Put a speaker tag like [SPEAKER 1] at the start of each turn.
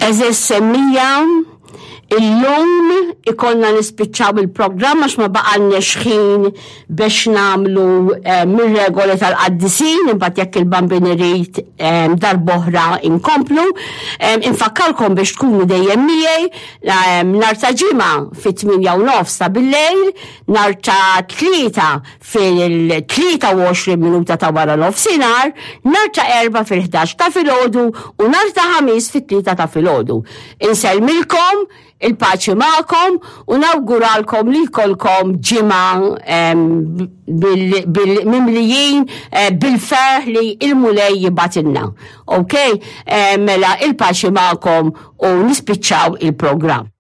[SPEAKER 1] Eżis semmija, illum ikollna nispiċċaw il-programm għax ma baqalniex ħin biex nagħmlu eh, mir-regoli tal-qaddisin, imbagħad jekk il-bambin irid eh, darb'oħra inkomplu. Eh, infakkarkom biex tkunu dejjem miegħi nhar ta' ġimgħa fit-8 u nofs ta' billejl, nhar ta' tlieta fil-23 minuta ta' wara nofsinhar, nhar ta' Erbgħa fil-11 ta' filgħodu u nhar ta' Ħamis fit-3 ta' filgħodu. Insellmilkom, il-paċi magħkom u nawguralkom li jkollkom ġimgħa mimlijin eh, bil-ferħ li il-Mulej jibgħatilna. Ok? Eh, mela il-paċi magħkom u nispiċċaw il-programm.